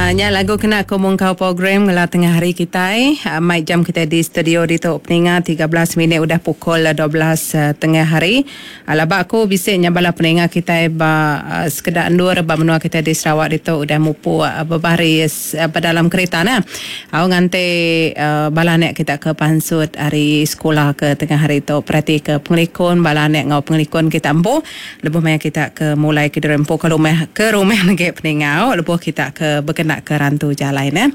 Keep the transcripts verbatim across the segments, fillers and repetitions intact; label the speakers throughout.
Speaker 1: Nya lagu kena aku mungkau program ngela tengah hari kitai. Mai jam kitai di studio ditu peninga tiga belas minit udah pukul dua belas tengah hari. Laba aku bisi nya bala peninga kitai ba sekeda endur ba menua kitai di Sarawak ditu udah mupuk bebaris ba dalam kerita nah. Au nganti bala anak kita ke pansut ari sekolah ke tengah hari tu. Perhati ke pengelikun bala anak ngau pengelikun kita empu. Lebuh maya kita ke mulai ke diri empu ke rumah ke rumah lagi peninga lebuh kita ke berkena ke rantu jalai ne.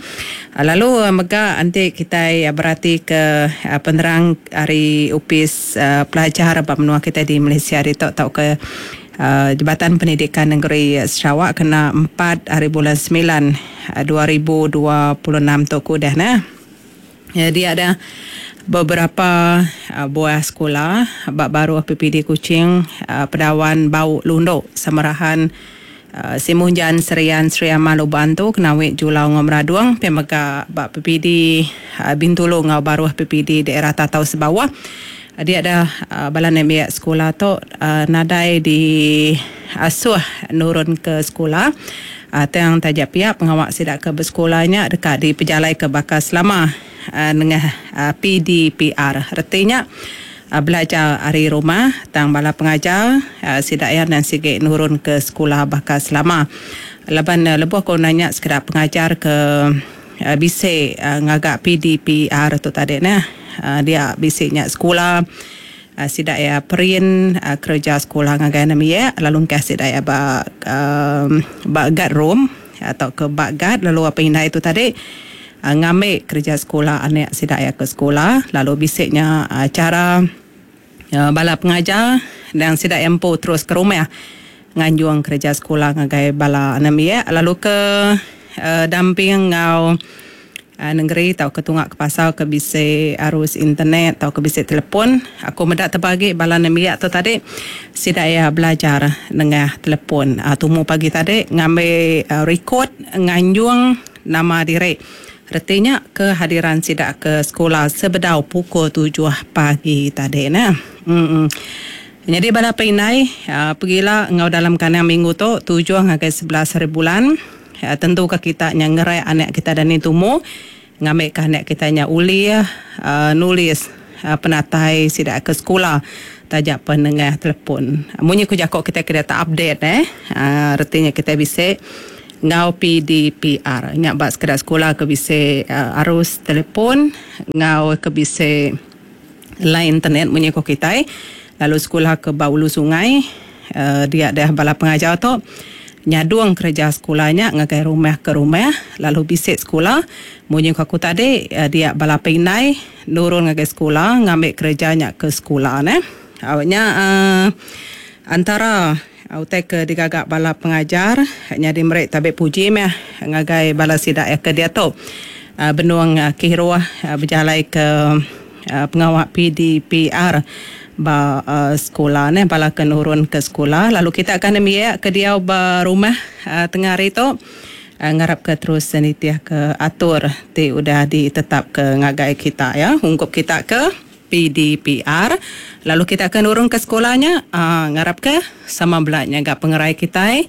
Speaker 1: Lalu mega anti kita berarti ke penerang ari Opis Pelajar ba menua kita di Malaysia ditu tau ke Jabatan Pendidikan Negeri Sarawak kena empat hari bulan sembilan dua ribu dua puluh enam tu ku dah ne. Dia ada beberapa buah sekolah ba baruh P P D Kuching, Pedawan Bau Lundu, Samarahan, Simunjan, Serian, Sri Aman, Lubok Antu, Kenawit, Julau ngau Meradung, pemega ba P P D Bintulu ngau baruh P P D daerah Tatau Sebawah. Dia ada bala nembiak sekolah tu nadai di asuh nurun ke sekolah. Tang tajak pihak pengawak sidak ke bersekolahnya dekat di pejalai ke bakal selama nengah P D P R. Artinya belajar hari rumah tang bala pengajar sidak ya dan sige nurun ke sekolah bakal selama. Laban lebuh ko nanya sekeda pengajar ke bisi ngagak P D P R tu tadi nah, dia bisi nya sekolah sidak ya print kerja sekolah ngagai nembiak lalu ngkah sidak ya ba ba guard room atau ke ba guard lalu apa indai tu tadi ngambil kerja sekolah anak sidak ya ke sekolah lalu bisiknya cara bala pengajar dan sidak empu terus ke rumah nganjung kerja sekolah ngagai bala nembiak lalu ke uh, damping ngau uh, negeri tau ke tungak ke pasal ke bisi arus internet tau ke bisi telefon. Aku medak terbagi bala nembiak tu tadi sidak ya belajar nengah telefon. Uh, tumu pagi tadi ngambil uh, record nganjung nama diri. Artinya kehadiran sidak ke sekolah sebedau pukul tujuh pagi tadi nah. Hmm. Jadi bala pindai uh, pergilah ngau dalam kandang minggu tu tujuh ngagai sebelas hari bulan. Uh, tentu ke kita nya ngerai anak kita dan ni tumu ngambil ke anak kita nya uli uh, nulis uh, penatai sidak ke sekolah tajak penengah telefon. Munyi ku jakok kita kena tak update eh. Uh, artinya kita bisa ngau P D P R nyak bak sekedar sekolah ke bisa uh, arus telefon ngau ke bisa line internet munyi ko kitai lalu sekolah ke Baulu Sungai uh, dia dah bala pengajar tu nyadung kerja sekolahnya ngagai rumah ke rumah lalu bisik sekolah munyi ko aku tadi uh, dia bala pindai nurun ngagai sekolah ngambil kerjanya ke sekolah ne. Awaknya uh, antara utai ke digagak bala pengajar nyadi merek tabik puji meh ngagai bala sidak ke dia tu benuang kiruh berjalai ke pengawak P D P R ba sekolah ne bala ke nurun ke sekolah lalu kita akan nembiak ke dia ba rumah tengah hari tu ngarap ke terus senitiah ke atur ti udah ditetap ke ngagai kita ya ungkup kita ke P D P R lalu kita akan nurun ke sekolahnya uh, ngarap ke sama belaknya gak pengerai kita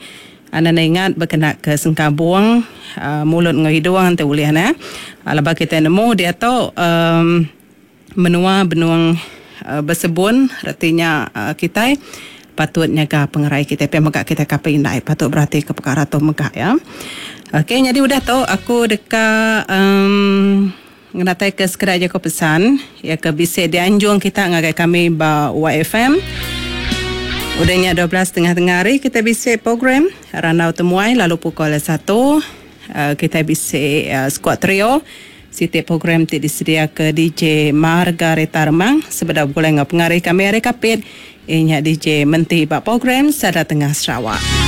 Speaker 1: anda ingat berkena ke sengkabung uh, mulut ngau hidung te boleh nah lepas kita nemu dia tu um, menua benuang uh, bersebun artinya uh, kita patut nyaga pengerai kita pe megak kita kapai indai patut berarti ke perkara tu megak ya. Okey, jadi udah tu aku dekat um, ngenatai ke sekedar je ko pesan ya ke bisa dianjung kita ngagai kami ba Y F M. Udahnya dua belas tengah-tengah hari kita bisa program Randau Temuai lalu pukul satu uh, kita bisa uh, squad trio siti program ti disedia ke D J Margareta Remang sebedau boleh ngau pengari kami hari kapit inya D J Menti ba program Sada Tengah Sarawak.